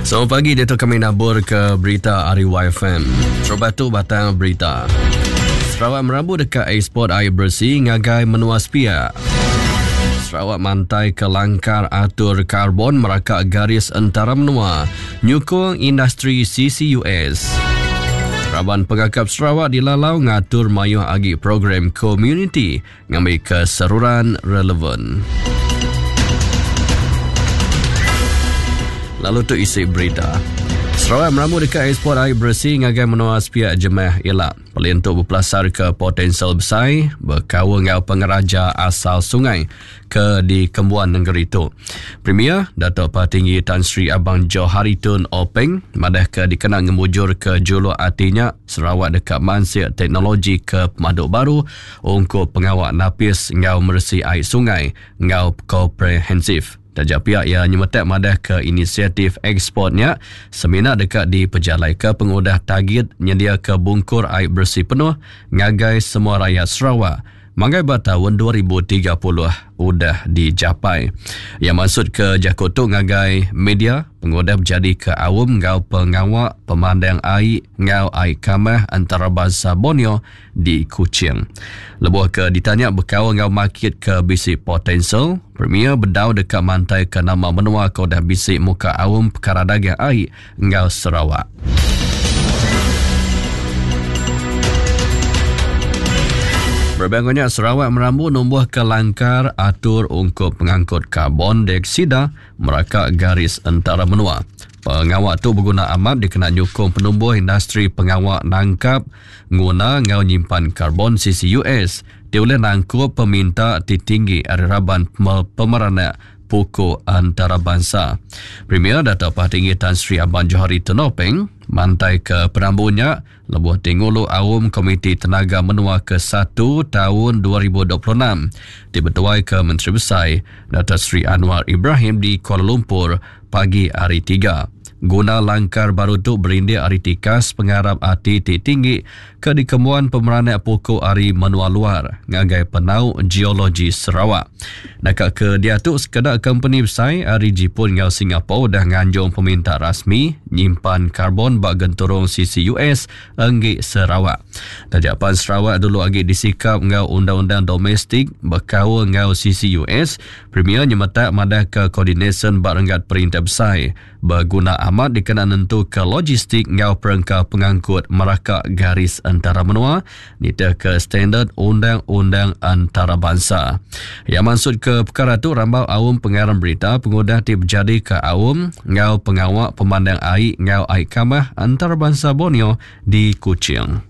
Selamat pagi diatu kami nabur ke berita ari YFM. Terubah tu batang berita. Sarawak merambu deka eksport air beresi ngagai menua sepiak. Sarawak mantai ke langkar atur karbon meraka garis entara menua nyukung industri CCUS. Raban pengakap Sarawak dilalau ngatur mayuh agi program komuniti ngambika seruran relevan. Lalu tu isi berita. Sarawak merambu deka ekspor air beresi ngagai menua sepiak jemah ila. Pelin tu bepelasar ke potensial besai bekaul enggau pengeraja asal sungai ke dikembuan nengeri tu. Premier Datuk Patinggi Tan Sri Abang Johari Tun Openg madahka dikena ngemujurka juluk ati nya, Sarawak deka mansik teknologi ke pemadu baru ungkup pengawa napis enggau meresi ai sungai enggau komprehensif. Taja pia iya nyemetak madahka inisiatif eksport nya semina deka dipejalaika pengudah tagit nyediaka bungkur ai beresi penuh ngagai semua rayat Sarawak Manggai ba taun 2030 udah dijapai. Iya mansutka jaku tu ngagai media pengudah bejadika aum enggau pengawa pemandang ai enggau ai kamah entarabansa Borneo di Kuching. Lebuh ke ditanya bekaul enggau makit ke bisi potensial, Premier bedau deka mantaika nama menua ke udah bisi muka aum pekara dagang ai enggau Sarawak. Berebak enggau nya, Sarawak merambu numbuhka langkar atur ungkup pengangkut karbon dioksida meraka garis entara menua. Pengawa tu beguna amat dikena nyukung penumbuh industri pengawa nangkap, nguna enggau nyimpan karbon CCUS ti ulih nangkup peminta ti tinggi ari raban pemeranak puku antarabansa. Premier Datuk Patinggi Tan Sri Abang Johari Tun Openg mantaika perambu nya lebuh ti ngulu aum Komiti Tenaga Menua Kesatu taun 2026 ti betuaika Menteri Besai Datuk Seri Anwar Ibrahim di Kuala Lumpur pagi Hari Tiga. Guna langkar baru tu berindik ari tikas pengarap ati ti tinggi ke dikembuan pemeranak puku ari menua luar ngagai penau geologi Sarawak. Naka ke diatu sekeda kompeni besai ari Jipun enggau Singapore udah nganjung peminta rasmi nyimpan karbon ba genturung CCUS enggi Sarawak. Taja pan Sarawak dulu agi disikap enggau undang-undang domestik bekaul enggau CCUS, Premier nyemetak madahka koordinasyen ba renggat perintah besai beguna amat dikena nentuka logistik enggau perengka pengangkut meraka garis entara menua nitihka standard undang-undang entarabansa. Iya mansutka pekara tu rambau aum pengarang berita pengudah ti bejadika aum enggau pengawa pemandang ai enggau ai kamah entarabansa Borneo di Kuching.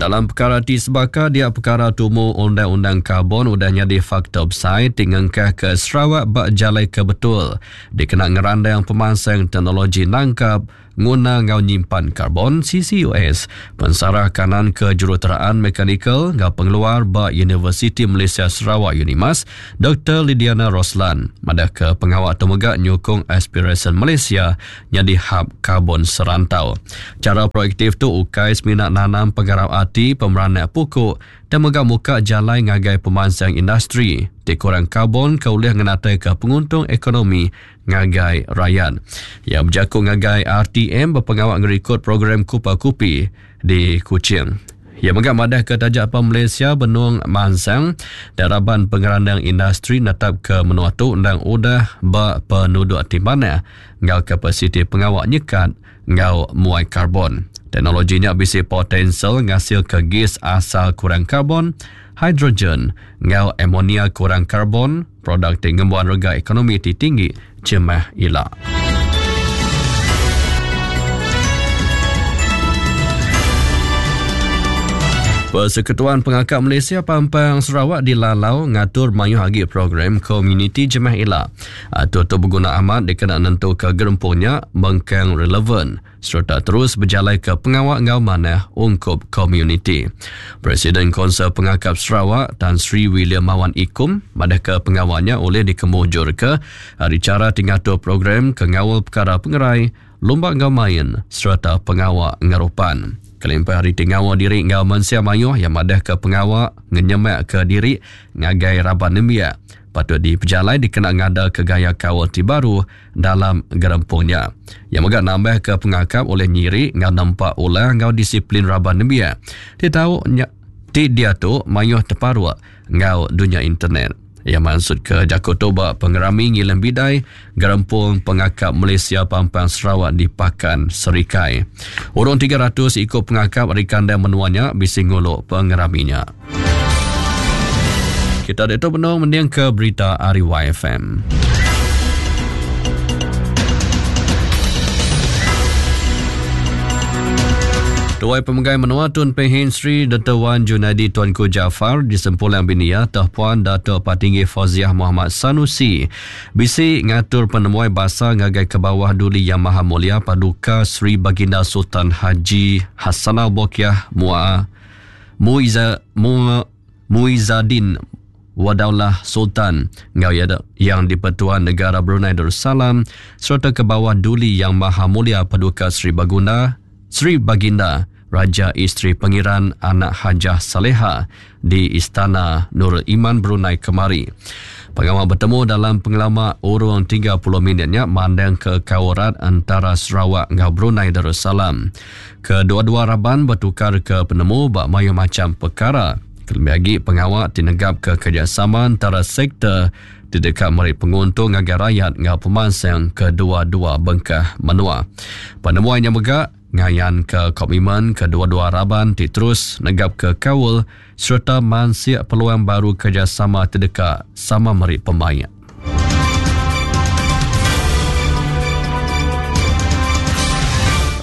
Dalam pekara ti sebaka dia pekara tumu undang-undang karbon udah nyadi faktor besai ti ngengkahka Sarawak ba jalai ke betul dikena ngerandang pemansang teknologi nangkap, nguna enggau nyimpan karbon, CCUS, Pensarah Kanan Kejuruteraan Mekanikal enggau Pengeluar ba Universiti Malaysia Sarawak, Unimas, Doktor Lydiana Roslan madahka pengawa tu mega nyukung aspirasyen Malaysia nyadi hab karbon serantau. Chara proaktif tu ukai semina nanam pengarap ati pemeranak puku tang mega muka jalai ngagai pemansang industri ti kurang karbon ke ulih ngenataika penguntung ekonomi ngagai rayat. Iya bejaku ngagai RTM ba pengawa ngerikod program Kupa Kupi di Kuching. Iya mega madahka taja pan Malaysia benung mansang dan raban pengerandang industri netapka menua tu endang udah ba penuduk ti manah enggau kapasiti pengawa nyekat enggau muai karbon. Teknologi nya bisi potensial ngasilka gis asal kurang karbon, hidrogen enggau ammonia kurang karbon, produk ti ngembuan rega ekonomi ti tinggi jemah ila. Persekutuan Pengakap Malaysia Pampang Sarawak dilalau ngatur mayuh agi program komuniti jemah ila. Atur tu beguna amat dikena nentuka gerempung nya mengkang relevan sereta terus bejalaika pengawa enggau manah ungkup komuniti. Presiden Konsel Pengakap Sarawak, Tan Sri William Mawan Ikum madahka pengawa nya ulih dikemujurka ari chara ti ngatur program ke ngaul pekara pengerai, lumba enggau main sereta pengawa ngerupan. Kelimpah ari ti ngaul diri enggau mensia mayuh iya madahka pengawa ngenyemakka diri ngagai raban nembiak. patut dipejalai dikena ngadaka gaya kaul ti baru dalam gerempung nya. Iya mega nambahka pengakap ulih nyiri enggau nempa ulah enggau disiplin raban nembiak ti tau nya ti diatu mayuh teparuk enggau dunya internet. Iya mansutka jaku tu ba Pengerami Ngiling Bidai Gerempung Pengakap Malaysia Pampang Sarawak di Pakan, Serikai. Urung 300 iku pengakap ari kandang menua nya bisi ngulu pengerami nya. Kita ditu benung mendingka berita ari YFM. Tuai Pemegai Menua Tun Pehin Sri Dr. Wan Junaidi Tuanku Jaafar disempulang bini iya Toh Puan Dato Patinggi Fauziah Muhammad Sanusi bisi ngatur penemuai basa ngagai ke bawah Duli Yang Maha Mulia Paduka Sri Baginda Sultan Haji Hassanal Bolkiah Mua Muiza Mua Muizaddin Wadaulah Sultan enggau iya Yang di-Pertuan Negara Brunei Darussalam sereta ke bawah Duli Yang Maha Mulia Paduka Seri Bagunda Seri Baginda Raja Isteri Pengiran Anak Hajah Saleha di Istana Nurul Iman Brunei kemari. Pengawa betemu dalam pengelama urung 30 minit nya mandangka kaul rat entara Sarawak enggau Brunei Darussalam. Kedua-dua raban betukarka penemu ba mayuh macham pekara kelebih agi pengawa ti negapka kerejasama entara sektor ti deka meri penguntung ngagai rayat enggau pemansang kedua-dua bengkah menua. Penemuai nya mega ngayanka komitmen kedua-dua raban ti terus negapka kaul sereta mansik peluang baru kerejasama ti deka sama meri pemaik.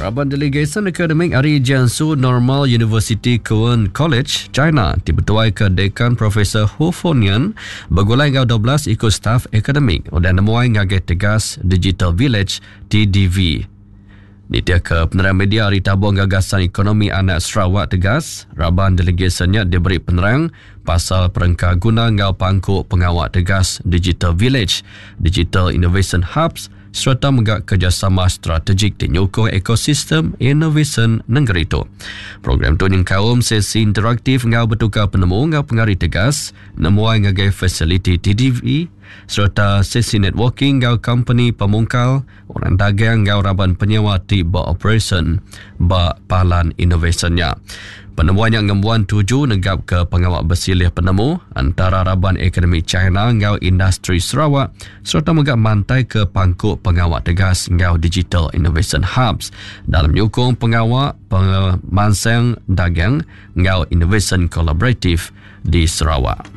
Raban delegasyen akademik ari Jiangsu Normal University Kuan College, China ti betuaika Dekan Profesor Hu Fonian begulai enggau 12 iku staf akademik udah nemuai ngagai Tegas Digital Village, TDV. Nitihka penerang media ari Tabung Gagasan Ekonomi Anak Sarawak Tegas, raban delegasyen nya diberi penerang pasal perengka guna enggau pangku pengawa Tegas Digital Village, Digital Innovation Hubs sereta mega kerejasama strategik ti nyukung ekosistem inovasyen nengeri tu. Program tu nyengkaum sesi interaktif enggau betukar penemu enggau pengari Tegas nemuai ngagai fasiliti TDV sereta sesi networking enggau kompeni pemungkal Orang dagang enggau raban penyewa ti beoperasyen ba palan inovasyen nya. Penemuai nya ngembuan tuju negapka pengawa besilih penemu entara raban ekonomi China enggau industri Sarawak sereta mega mantaika pangku pengawa tegas enggau Digital Innovation Hubs dalam nyukung pengawa pemansang dagang enggau inovasyen kolaboratif di Sarawak.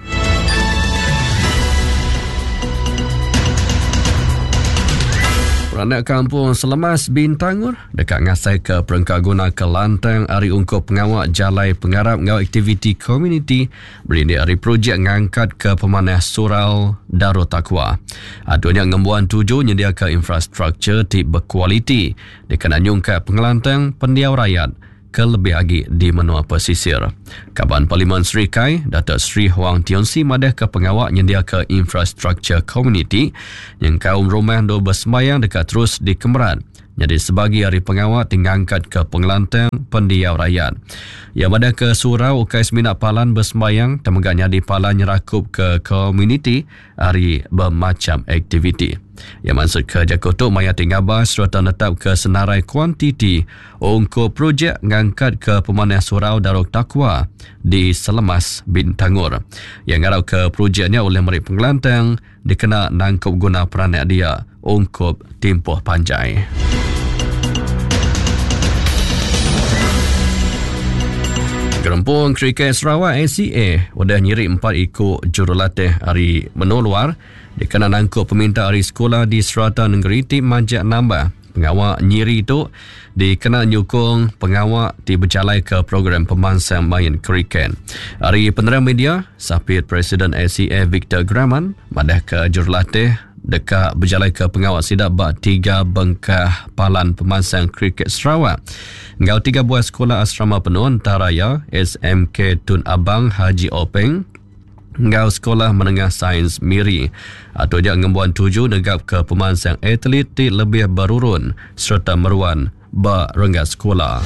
Peranak kampung Selemas Bintangor deka ngasaika perengka guna ke lantang ari ungkup pengawa jalai pengarap enggau aktiviti komuniti berindik ari projek ngangkatka pemanah Surau Darul Taqwa. Atur nya ngembuan tuju nyediaka infrastruktur ti bekualiti dikena nyungkak pengelantang pendiau rayat ke lebih agi di menua pesisir. Kaban Parlimen Serikai, Datuk Seri Huang Tionsi madahka pengawa nyendiaka infrastruktur komuniti nyengkaum rumah endur besembayang deka terus dikemerat nyadi sebagi ari pengawa ti ngangkatka pengelantang pendiau rayat. Iya madahka surau ukai semina palan besembayang tang mega nyadi palan nyerakupka komuniti ari bemacham aktiviti. Iya mansutka jaku tu maya ti ngabas sereta netapka senarai kuantiti ungkup projek ngangkatka pemanah Surau Darul Taqwa di Selemas, Bintangor. Iya ngarapka projek nya ulih meri pengelantang dikena nangkup guna peranak dia ungkup timpuh panjai. Gerempung Kriket Sarawak ACA udah nyiri empat iku jurulatih ari menua luar dikena nangkup peminta ari sekula di serata nengeri ti majak nambah. Pengawa nyiri tu dikena nyukung pengawa ti bejalaika program pemansang main kriket. Ari penerang media, Sapit Presiden ACA Victor Graman madahka jurulatih deka bejalaika pengawa sida ba tiga bengkah palan pemansang kriket Sarawak enggau tiga buah sekula asrama penuh entara iya SMK Tun Abang Haji Openg enggau Sekolah Menengah Sains Miri. Atur nya ngembuan tuju negapka pemansang atlet ti lebih berurun sereta meruan ba renggat sekula.